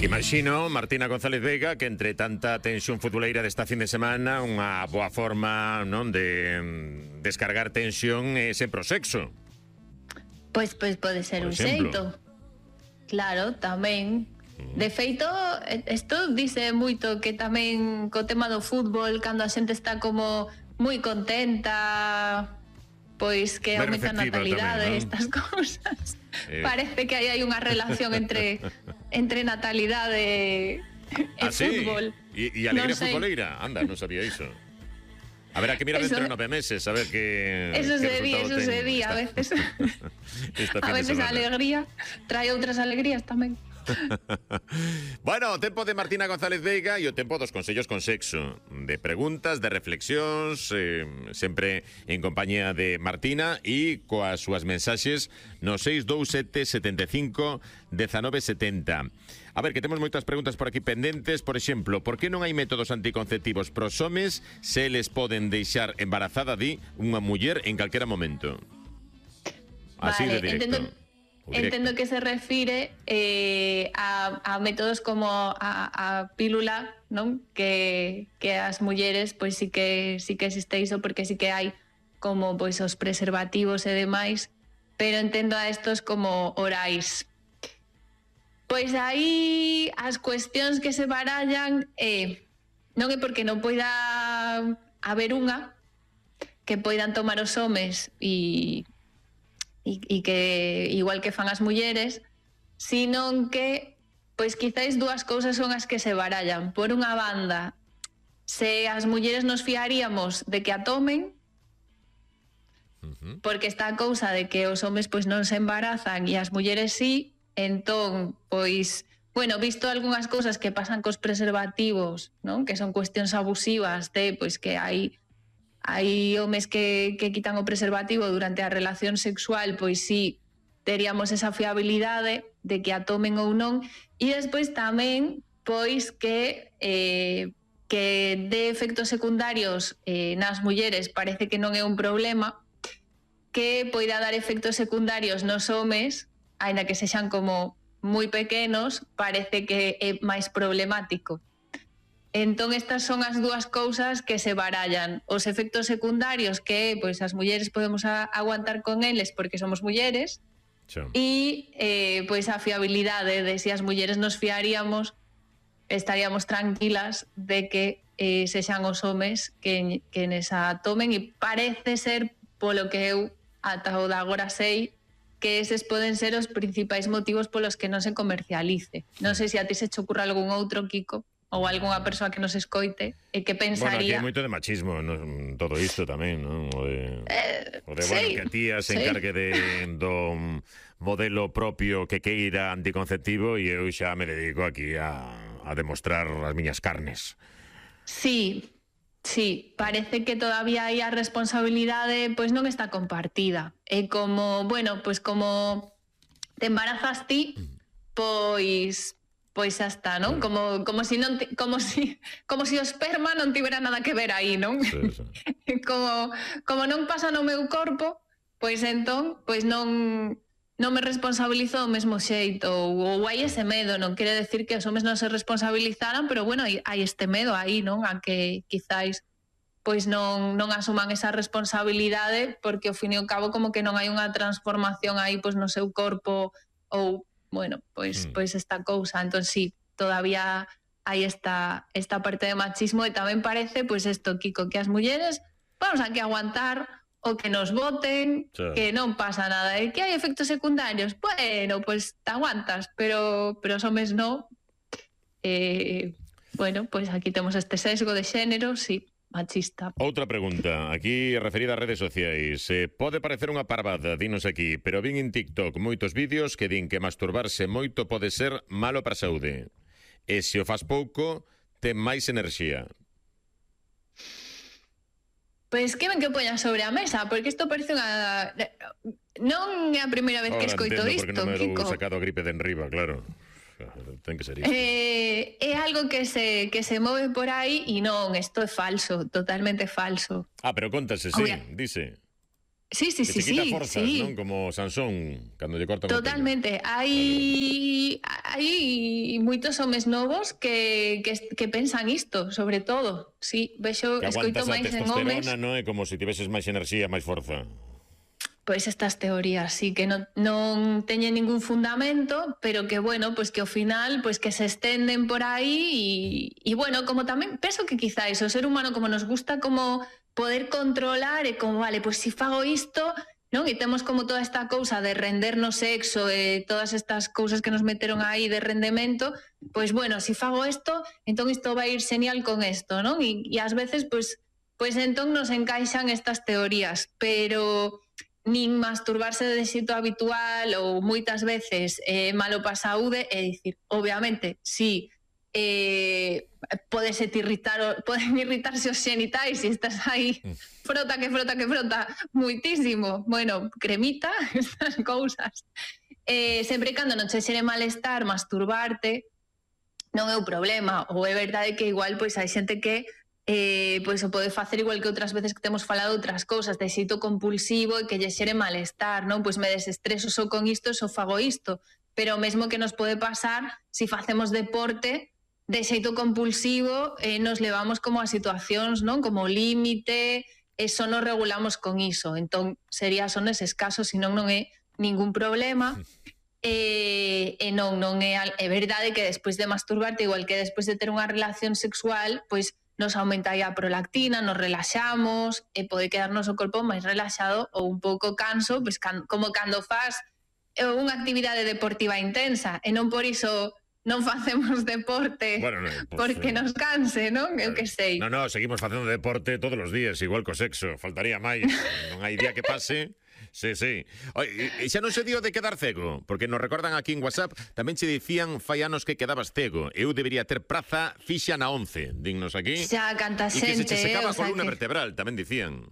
Imagino, Martina González Veiga, que entre tanta tensión futboleira desta fin de semana, unha boa forma, non, de descargar tensión é sempre o sexo. Pois pode ser un xeito. Claro, tamén. De feito, isto dice moito que tamén co tema do fútbol, cando a xente está como moi contenta, pois que aumenta a natalidade, tamén, ¿no? Estas cousas. Parece que hai unha relación entre natalidade e fútbol. E alegría futboleira. Anda, non sabía iso. Haberá que mirar dentro de 9 meses a ver que eso se di a veces. A veces a alegría trae outras alegrías tamén. Bueno, o tempo de Martina González Veiga e o tempo dos consellos con sexo, de preguntas, de reflexións, sempre en compañía de Martina e coas súas mensaxes no 627 75 19 70. A ver, que temos moitas preguntas por aquí pendentes. Por exemplo, por que non hai métodos anticonceptivos pros homes se eles poden deixar embarazada unha muller en calquera momento? Así vale, de directo. Entendo que se refire a métodos como a pílula, non? Que as mulleres pois sí que existe iso, porque sí que hai como pois os preservativos e demais, pero entendo a estos como orais. Pois aí as cuestións que se barallan non é porque non poida haber unha que poidan tomar os homes e que igual que fan as mulleres, sino que pois quizáis dúas cousas son as que se barallan. Por unha banda, se as mulleres nos fiaríamos de que a tomen, porque está a cousa de que os homes pois non se embarazan e as mulleres sí, entón, pois, bueno, visto algunhas cousas que pasan cos preservativos, non? Que son cuestións abusivas de, pois, que hai homes que quitan o preservativo durante a relación sexual, pois sí, teríamos esa fiabilidade de que a tomen ou non. E despois tamén, pois, que de efectos secundarios nas mulleres parece que non é un problema, que poida dar efectos secundarios nos homes, aínda que sexan como moi pequenos, parece que é máis problemático. Entón estas son as dúas cousas que se barallan. Os efectos secundarios que pois as mulleres podemos aguantar con eles porque somos mulleres, e pois a fiabilidade de se as mulleres nos fiaríamos, estaríamos tranquilas de que sexan os homes que nesa tomen, e parece ser, polo que eu ata o de agora sei, que eses poden ser os principais motivos polos que non se comercialice. Non sei se a ti se che ocurre algún outro, Kiko, ou algunha persoa que nos escoite e que pensaría... Bueno, aquí hai moito de machismo, ¿no? Todo isto tamén, non? O de sí, bueno, que a tía se encargue do modelo propio que queira anticonceptivo e eu xa me dedico aquí a demostrar as miñas carnes. Sí, parece que todavía hai a responsabilidade, pois non está compartida. É como, bueno, pois como te embarazas ti, pois xa está, non? Como si o esperma non tivera nada que ver aí, non? Sí. Como non pasa no meu corpo, pois entón, pois non me responsabilizo do mesmo xeito, ou hai ese medo. Non quere decir que os homes non se responsabilizaran, pero bueno, hai este medo aí, non? A que quizáis pois non asuman esa responsabilidade, porque ao fin e ao cabo como que non hai unha transformación aí pois no seu corpo, ou bueno, pois esta cousa. Entón sí, todavía hai esta parte de machismo, e tamén parece, pois isto, Kiko, que as mulleres vamos a que aguantar o que nos voten, que non pasa nada, e que hai efectos secundarios, bueno, pois te aguantas, pero os homes non. Bueno, pois aquí temos este sesgo de xénero, sí, machista. Outra pregunta, aquí referida a redes sociais. Pode parecer unha parvada, dinos aquí, pero vin en TikTok moitos vídeos que din que masturbarse moito pode ser malo para a saúde. E se o faz pouco, ten máis enerxía. Pois que ben que poñas sobre a mesa, porque isto parece unha... Non é a primeira vez que escoito isto, Kiko. Porque non me Kiko. He sacado a gripe de enriba, claro. Ten que ser isto. É algo que se move por aí e non, isto é falso, totalmente falso. Pero contase, sí, dice. Sí. Que se quita forzas, non? Como Sansón, cando lle cortan o pelo. Totalmente. Hai moitos homes novos que pensan isto, sobre todo. Sí, vexo, Que escoito aguantas a máis en homes. testosterona, non é como se tiveses máis enerxía, máis forza. Pois estas teorías sí que non teñen ningún fundamento, pero que bueno, pues que ao final pues que se estenden por aí e bueno, como tamén penso que quizáis o ser humano como nos gusta como poder controlar e como vale, pues si fago isto, non? E temos como toda esta cousa de render no sexo e todas estas cousas que nos meteron aí de rendemento, pues bueno, si fago isto, entón isto vai ir genial con isto, non? E ás veces pues entón nos encaixan estas teorías, pero nin masturbarse de xeito habitual ou moitas veces malo pa saúde, é dicir, obviamente, si poden irritarse os xenitais se estás aí frota moitísimo, bueno, cremita, estas cousas. Sempre cando non che xere malestar masturbarte non é o problema, ou é verdade que igual pois hai xente que pois o pode facer igual que outras veces que temos falado outras cousas, de xeito compulsivo e que lle xere malestar, non? Pois me desestreso só con isto, só fago isto, pero mesmo que nos pode pasar si facemos deporte de xeito compulsivo, nos levamos como a situacións, non? Como límite, e só nos regulamos con iso, entón sería son eses casos, senón non é ningún problema. E non é verdade que despois de masturbarte, igual que despois de ter unha relación sexual, pois nos aumenta a prolactina, nos relaxamos e pode quedarnos o corpo máis relaxado ou un pouco canso, pois como cando faz unha actividade deportiva intensa e non por iso non facemos deporte porque nos canse, non? Eu que sei. Non, seguimos facendo deporte todos os días, igual co sexo, faltaría máis. Non hai día que pase. Sí. E xa non se dio de quedar cego, porque nos recordan aquí en WhatsApp, tamén che dicían fai anos que quedabas cego. Eu debería ter praza fixa na 11, dignos aquí. Xa, canta xente. E que se che secaba a columna vertebral, tamén dicían.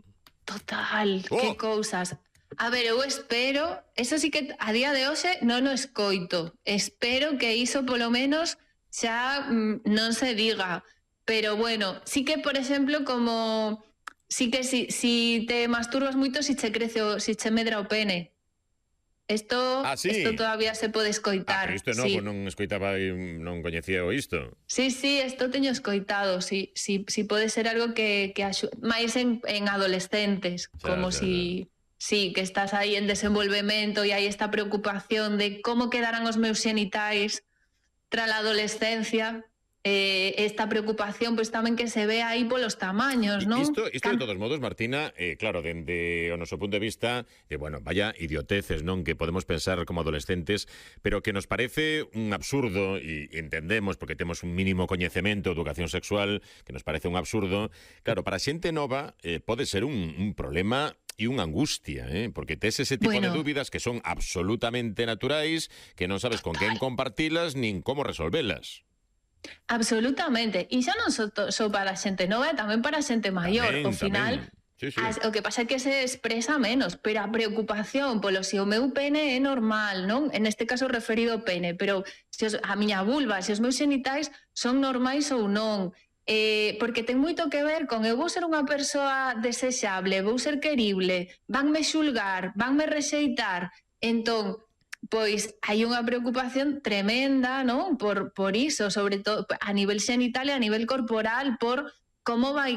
Total, que cousas. A ver, eu espero, eso sí que a día de hoxe non o escoito. Espero que iso polo menos xa non se diga. Pero bueno, sí que, por exemplo, como... Sí que si te masturbas moito, si che crece si che medra o pene. Isto todavía se pode escoitar. Pero isto novo, non escoitaba e non coñecía o isto. Sí, isto teño escoitado. Sí, pode ser algo que máis en adolescentes, como si... Sí, que estás aí en desenvolvemento e hai esta preocupación de como quedarán os meus xenitais tras a adolescencia. Esta preocupación pois tamén que se ve aí polos tamaños, non? Isto de todos modos, Martina, claro, dende o noso punto de vista, bueno, vaya idioteces, non? Que podemos pensar como adolescentes, pero que nos parece un absurdo, e entendemos, porque temos un mínimo coñecemento de educación sexual, que nos parece un absurdo. Claro, para xente nova pode ser un problema e unha angustia, porque tes ese tipo de dúbidas que son absolutamente naturais, que non sabes con quen compartilas nin como resolvelas. Absolutamente, e xa non só para a xente nova, tamén para a xente maior. Ao final, sí. O que pasa é que se expresa menos, pero a preocupación polo se o meu pene é normal, non? En este caso referido ao pene, pero se a miña vulva, se os meus xenitais son normais ou non, porque ten moito que ver con eu vou ser unha persoa desexable, vou ser querible, vanme xulgar, vanme rexeitar, entón pois hai unha preocupación tremenda, non? Por iso, sobre todo a nivel xenital e a nivel corporal, por como vai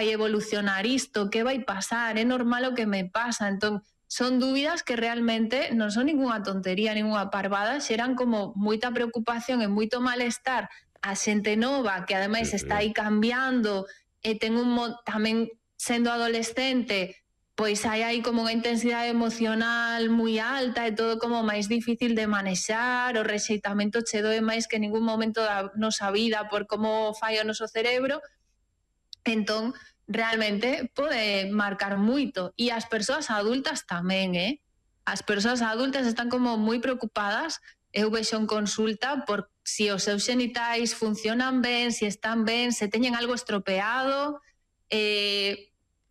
evolucionar isto, que vai pasar, é normal o que me pasa. Entón, son dúbidas que realmente non son ninguna tontería, ninguna parvada, xeran como moita preocupación e moito malestar a xente nova, que ademais está aí cambiando, e ten tamén sendo adolescente, pois hai aí como unha intensidade emocional moi alta e todo como máis difícil de manexar, o rexeitamento che doe máis que en ningún momento da nosa vida por como fai o noso cerebro. Entón, realmente pode marcar moito. E as persoas adultas tamén, As persoas adultas están como moi preocupadas. Eu vexo en consulta por si os seus xenitais funcionan ben, si están ben, se teñen algo estropeado.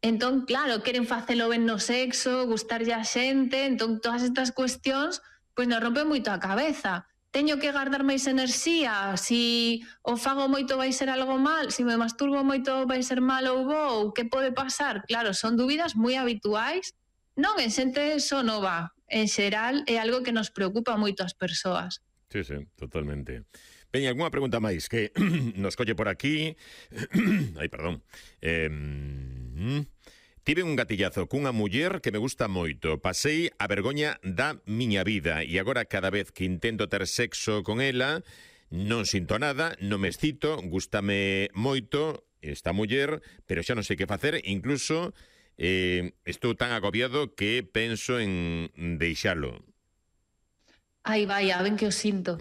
Entón, claro, queren facelo ben no sexo, gustarlle a xente. Entón, todas estas cuestións pois nos rompen moito a cabeza. Teño que guardar máis enerxía? Si o fago moito vai ser algo mal? Si me masturbo moito vai ser mal ou bo? Que pode pasar? Claro, son dúbidas moi habituais. Non en xente só nova. En xeral é algo que nos preocupa moito as persoas. Sí, totalmente. Veña, algunha pregunta máis que nos colle por aquí. Ai, perdón. Tive un gatillazo cunha muller que me gusta moito. Pasei a vergoña da miña vida e agora cada vez que intento ter sexo con ela non sinto nada, non me excito, gústame moito esta muller, pero xa non sei que facer, incluso estou tan agobiado que penso en deixalo. Ai, vaya, ben que o sinto.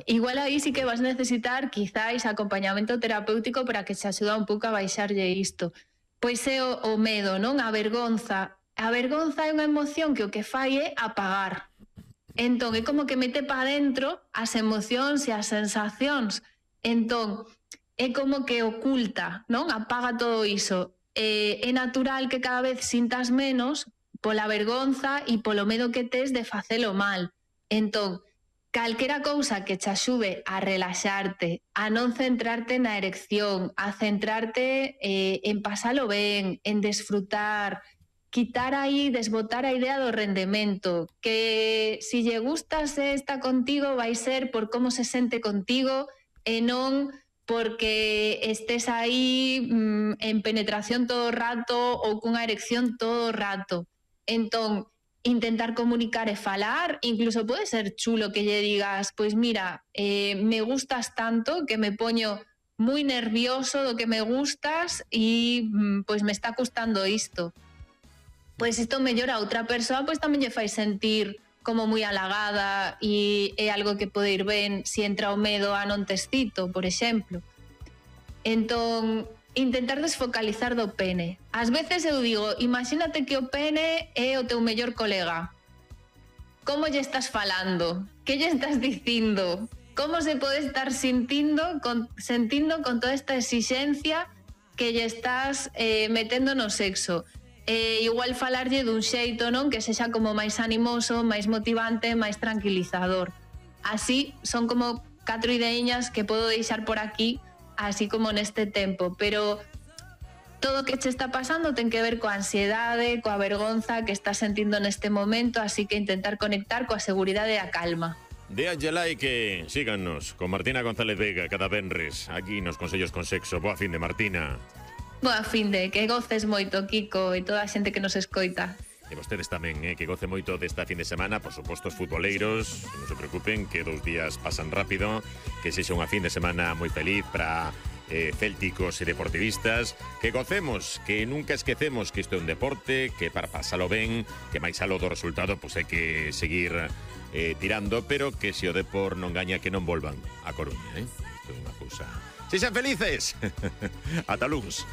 Igual aí sí que vas necesitar quizáis acompañamento terapéutico para que se axuda un pouco a baixarlle isto. Pois é o medo, non? A vergonza. A vergonza é unha emoción que o que fai é apagar. Entón, é como que mete para dentro as emocións e as sensacións. Entón, é como que oculta, non? Apaga todo iso. É natural que cada vez sintas menos pola vergonza e polo medo que tes de facelo mal. Entón, calquera cousa que te axude a relaxarte, a non centrarte na erección, a centrarte en pasalo ben, en desfrutar, quitar aí, desbotar a idea do rendemento, que si lle gusta se está contigo vai ser por como se sente contigo e non porque estés aí en penetración todo o rato ou cunha erección todo o rato. Entón, intentar comunicar e falar, incluso pode ser chulo que lle digas, pois mira, me gustas tanto que me poño moi nervioso do que me gustas e pois me está custando isto. Pois isto mellora a outra persoa, pois tamén lle fai sentir como moi halagada e é algo que pode ir ben se entra o medo a non te excito, por exemplo. Entón, intentar desfocalizar do pene. Ás veces eu digo, imagínate que o pene é o teu mellor colega. Como lle estás falando? Que lle estás dicindo? Como se pode estar sentindo con toda esta exixencia que lle estás metendo no sexo? Igual falarlle dun xeito, non? Que sexa como máis animoso, máis motivante, máis tranquilizador. Así, son como 4 ideiñas que podo deixar por aquí, así como neste tempo, pero todo o que che está pasando ten que ver coa ansiedade, coa vergonza que estás sentindo neste momento, así que intentar conectar coa seguridade e a calma. Déanlle like e síganos con Martina González Veiga cada venres aquí nos Consellos con Sexo. Boa fin de, Martina. Boa fin de, que goces moito, Kiko, e toda a xente que nos escoita. E vostedes tamén, que goce moito desta fin de semana, por suposto os futboleiros, non se preocupen, que 2 días pasan rápido, que sexa unha fin de semana moi feliz para célticos e deportivistas, que gocemos, que nunca esquecemos que isto é un deporte, que para pasalo ben, que máis aló do resultado, pois hai que seguir tirando, pero que se o Depor non gaña, que non volvan a Coruña, Isto é unha cousa. Sexan felices! Ata luns!